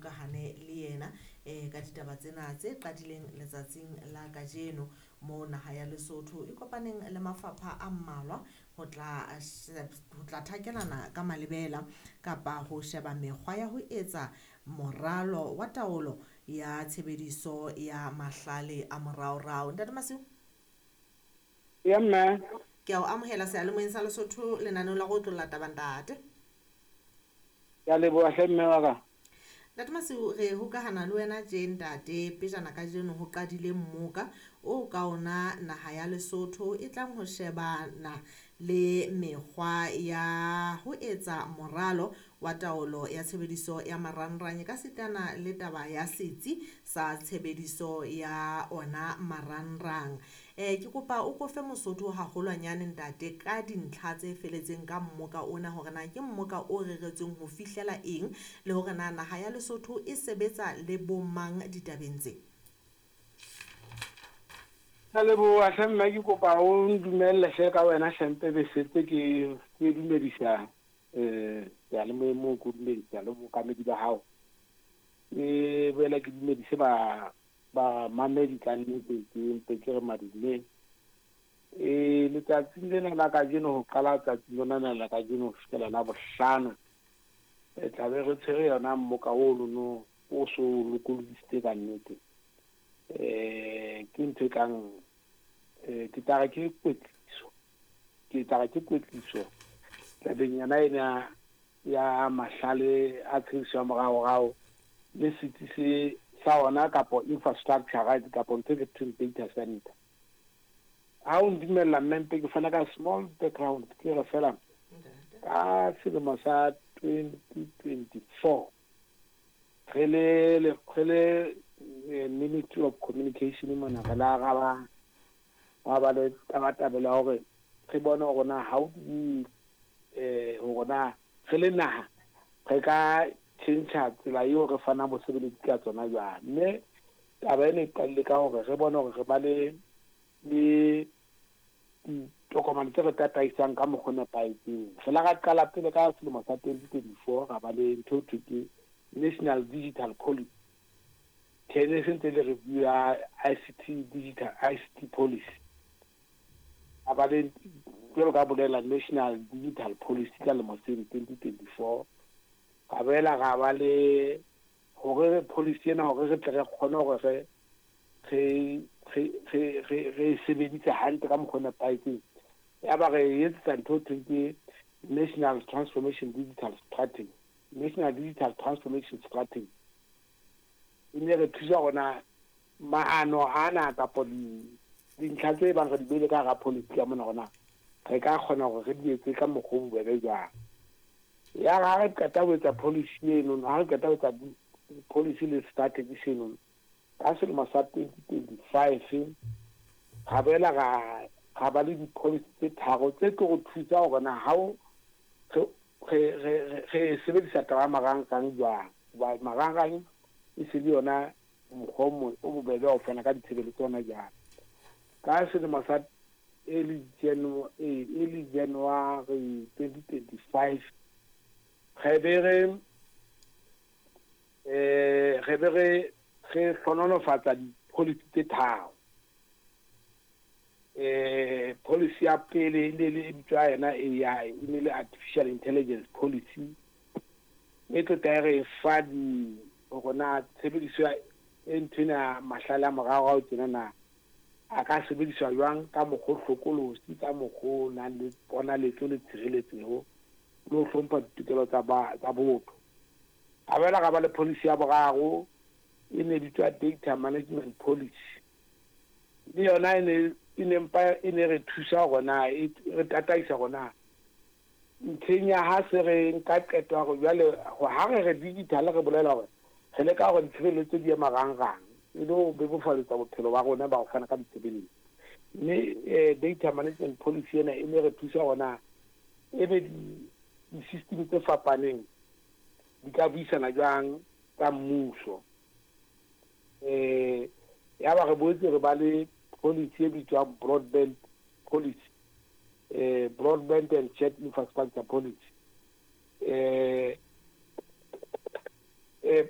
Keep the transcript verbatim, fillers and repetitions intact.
hokahane le yena um ka ditaba tsena tse qadileng letsatsing la kajeno moo naha ya Lesotho e kopaneng le mafapha a mmalwa ho tla ho tla thakelana ka malebela kapa ho sheba mekgwa ya ho etsa moralo wa taolo ya tshebediso ya mahlale a moraorao. Ntate Masiu? Ya mme. Ke a o amohela seyalemoyeng sa Lesotho lenaneong la go otlolla taba, ntate. Ke a leboha hle, mme wa ka. Ntate Masiu, re hokahana le wena tje ntate pejana kajeno ho qadile mmoka o ka ona naha ya Lesotho e tlang ho shebana le mekgwa ya ho etsa moralo wa taolo ya tshebediso ya marangrang ka sitana le taba ya setsi sa tshebediso ya ona marangrang. Eh ke kopa o kofe Mosotho haholwanyane, ntate, ka dintlha tse feletseng ka mmoka ona, hore na ke mmoka o reretsweng ho fihlela eng le hore na naha ya Lesotho e sebetsa le bomang ditabeng tse. Ka leboha hle mme, ke kopa o ndumelle hle ka wena hle mpe be setse ke ke dumedisa eh seyalemoyeng moo, ke dumedisa le bookamedi ba hao. Ke boela ke dumedise ba bamamedi ka nnete, ke mpe ke re madume. Eh letsatsing lena la kajeno, ho qala tsatsing lona lena la kajeno ho fihlela la bohlano, re tla be re tshwere yona mmoka ono o so lokolodisitse ka nnete. Eh ke ntho e kang eh ke tla re ke kwetliso, ke tla re ke kwetliso tabeng yona ena ya mahlale a tshebediso ya moraorao le setsi se sa ona kapo infrastructure, right, kapo ntho e thweng data center. Ha o ndumella mme, mpe ke fana ka small background, ke re fela ka selemo sa twenty twenty four re le re le Ministry of Communication mona, re la ra ba ra ba le tabatabelo ya hore re bone hore na how do we eh hore na re le naha re ka tjhentjha tsela eo re fanang bosebeletsi ka tsona jwang. Mme taba ena e qadile ka hore re bone hore re ba le le ditokomane tse re tataisang ka mokgwa o nepahetseng. Re la ra qala pele ka selemo sa twenty twenty four, ra ba le ntho eo thweng ke National Digital Policy, tene se ntse le review ya I C T digital I C T policy. A ba le, jwalo ka bolela, National Digital Policy ka lemo seno twenty twenty four. Ra boela ra ba le hore policy ena, hore re tle re kgone hore re re re re re re e sebedise hantle ka mokgwa o nepahetseng, ya ba re etsetsa ntho eo thweng ke National Transformation Digital Strategy, National Digital Transformation Strategy. E ne re thusa rona maano ana kapo dintlha tse bang re di beile ka hara policy ka mona, rona re ka kgona hore re di etse ka mokgwa o bobebe jwang. Ya re ha re qeta ho etsa policy eno, ha re qeta ho etsa policy le strategy seno ka selemo sa twenty twenty five, ra boela ra ra ba le di-policy tse tharo tse tlo re thusa hore na ha o re re re sebedisa taba ya marangrang jwang, hoba marangrang e se le yona mokgwa o o bobebe wa ho fana ka ditshebeletso hona jwale. Ka selemo sa early January early January twenty twenty five, re be re eh re be re re hlohonolofatsa di-policy tse tharo. eh policy ya pele e ne le e bitswa yona A I, e ne le artificial intelligence policy, e tlo tla re fa di hore na tshebediso ya e nthwena mahlale a moraorao tjena na a ka sebediswa jwang ka mokgwa o hlokolosi, ka mokgwa o nang le ponaletso le tshireletseho le ho hlompha ditokelo tsa ba tsa botho. A boela ra ba le policy ya boraro, e ne bitswa data management policy. Le yona e ne e ne mpa e ne re thusa hore na e re tataisa hore na ntlheng ya ha se re nka qeto ya hore jwale ha re re digital, re bolela hore re leka hore ditshebeletso di ye marangrang e le ho bebofaletsa bophelo ba rona ba ho fana ka ditshebeletso. Mme eh, data management policy ena e ne re thusa hore na ebe di-system tse fapaneng di ka buisana jwang tsa mmuso. eh ya ba re boetse re ba le policy e bitswang broadband policy, eh broadband and shared infrastructure policy. eh eh